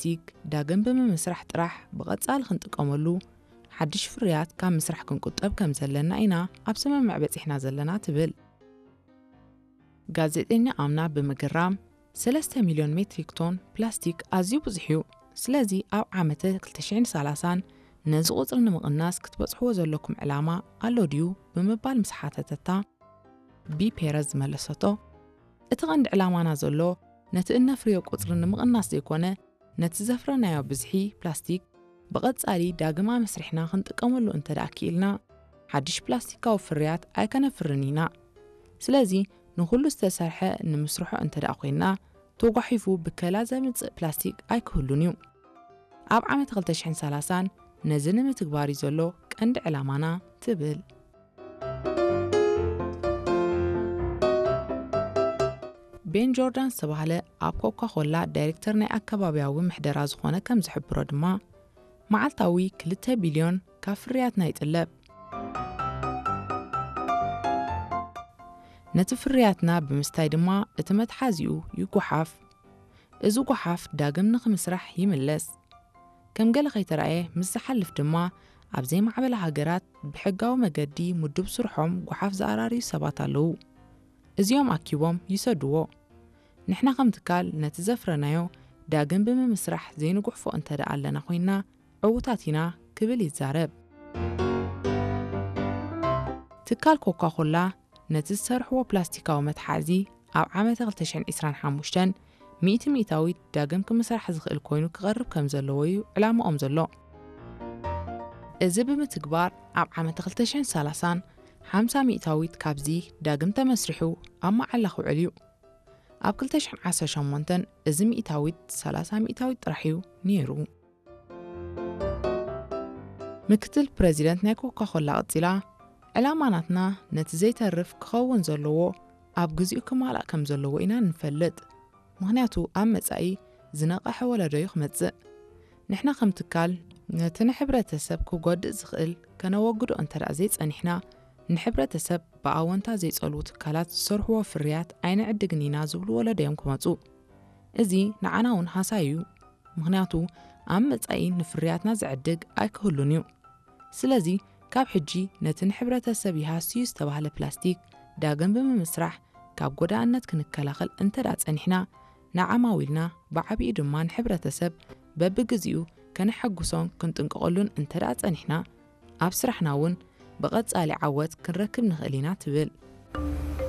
ፕላስቲክ ዳግም ብምምስራሕ ጥራሕ ብቐጻሊ ክንጥቀመሉ፣ ሓድሽ ፍርያት ካብ ምስራሕ ክንቁጠብ ከም ዘለና ኢና ኣብ ስምምዕ በጺሕና ዘለና ትብል። ጋዜጠኛ ኣምና ብምግራም፣ ሰለስተ ሚልዮን ሜትሪክ ቶን ፕላስቲክ ኣዝዩ ብዙሕ እዩ። ስለዚ ኣብ ዓመተ ክልተ ሽሕን ሰላሳን ነዚ ቁጽሪ ንምቕናስ ክትበጽሕዎ ዘለኩም ዕላማ ኣሎ ድዩ ብምባል ምስ ሓተተታ፣ ቢ ፔረዝ ዝመለሰቶ፣ እቲ ቀንዲ ዕላማና ዘሎ ነቲ እነፍርዮ ቁጽሪ ንምቕናስ ዘይኮነ፣ ነቲ ዘፍረናዮ ብዝሒ ፕላስቲክ ብቐጻሊ ዳግም ኣመስሪሕና ክንጥቀመሉ እንተ ደኣ ክኢልና፣ ሓድሽ ፕላስቲካዊ ፍርያት ኣይከነፍርን ኢና። ስለዚ ንኹሉ ዝተሰርሐ ንምስርሖ እንተ ደኣ ኮይንና፣ ተጓሒፉ ብከላ ዘምጽእ ፕላስቲክ ኣይክህሉን እዩ። ኣብ ዓመት ክልተ ሽሕን ሰላሳን ነዚ ንምትግባር እዩ ዘሎ ቀንዲ ዕላማና ትብል። ቤን ጆርዳን ዝተባህለ ኣብ ኮካ ኮላ ዳይሬክተር ናይ ኣከባቢያዊ ምሕደራ ዝኾነ ከም ዝሕብሮ ድማ፣ መዓልታዊ ክልተ ቢልዮን ካብ ፍርያትና ይጥለብ። ነቲ ፍርያትና ብምስታይ ድማ እቲ መትሓዚኡ ይጓሓፍ። እዚ ጓሓፍ ዳግም ንኽምስራሕ ይምለስ። ከም ገለ ከይተራእየ ምስ ዝሓልፍ ድማ ኣብ ዘይማዕበላ ሃገራት ብሕጋዊ መገዲ ምዱብ ስርሖም ጓሓፍ ዝኣራርዩ ሰባት ኣለዉ። እዚኦም ኣኪቦም ይሰድዎ። ንሕና ከም ትካል ነቲ ዘፍረናዮ ዳግም ብምምስራሕ ዘይንጉሕፎ እንተ ደኣ ኣለና ኮይንና ዕዉታት ኢና ክብል ይዛረብ። ትካል ኮካ ኮላ ነቲ ዝሰርሕዎ ፕላስቲካዊ መትሓዚ ኣብ ዓመተ ክልተ ሽሕን ዕስራን ሓሙሽተን ሚእቲ ሚእታዊት ዳግም ክምስራሕ ዝኽእል ኮይኑ ክቐርብ ከም ዘለዎ እዩ ዕላማኦም ዘሎ። እዚ ብምትግባር ኣብ ዓመተ ክልተ ሽሕን ሰላሳን ሓምሳ ሚእታዊት ካብዚ ዳግም ተመስሪሑ ኣብ መዓላ ክውዕል እዩ። ኣብ ክልተ ሽሕን ዓሰርተ ሸሞንተን እዚ ሚእታዊት ሰላሳ ሚእታዊት ጥራሕ እዩ ነይሩ። ምክትል ፕረዚደንት ናይ ኮካ ኮላ ቀጺላ፣ ዕላማ ናትና ነቲ ዘይተርፍ ክኸውን ዘለዎ ኣብ ግዚኡ ክማላእ ከም ዘለዎ ኢና ንፈልጥ። ምኽንያቱ ኣብ መጻኢ ዝነቐሐ ወለዶ እዩ ክመጽእ። ንሕና ከም ትካል ነቲ ንሕብረተሰብ ክጎድእ ዝኽእል ከነወግዶ እንተ ደኣ ዘይጸኒሕና፣ ንሕብረተሰብ ብኣወንታ ዘይጸልዉ ትካላት ዝሰርሕዎ ፍርያት ኣይንዕድግን ኢና ዝብሉ ወለዶ እዮም ክመጹ። እዚ ንዓና እውን ሃሳይ እዩ። ምኽንያቱ ኣብ መጻኢ ንፍርያትና ዝዕድግ ኣይክህሉን እዩ። ስለዚ ካብ ሕጂ ነቲ ንሕብረተሰብ ይሃስዩ ዝተባህለ ፕላስቲክ ዳግም ብምምስራሕ ካብ ጎዳእነት ክንከላኸል እንተ ደኣ ጸኒሕና፣ ንዓማዊልና ብዓቢኡ ድማ ንሕብረተሰብ በብግዚኡ ከነሐጉሶን ክንጥንቀቐሉን እንተ ደኣ ጸኒሕና፣ ኣብ ስራሕና እውን ብቐጻሊ ዓወት ክንረክብ ንኽእል ኢና ትብል።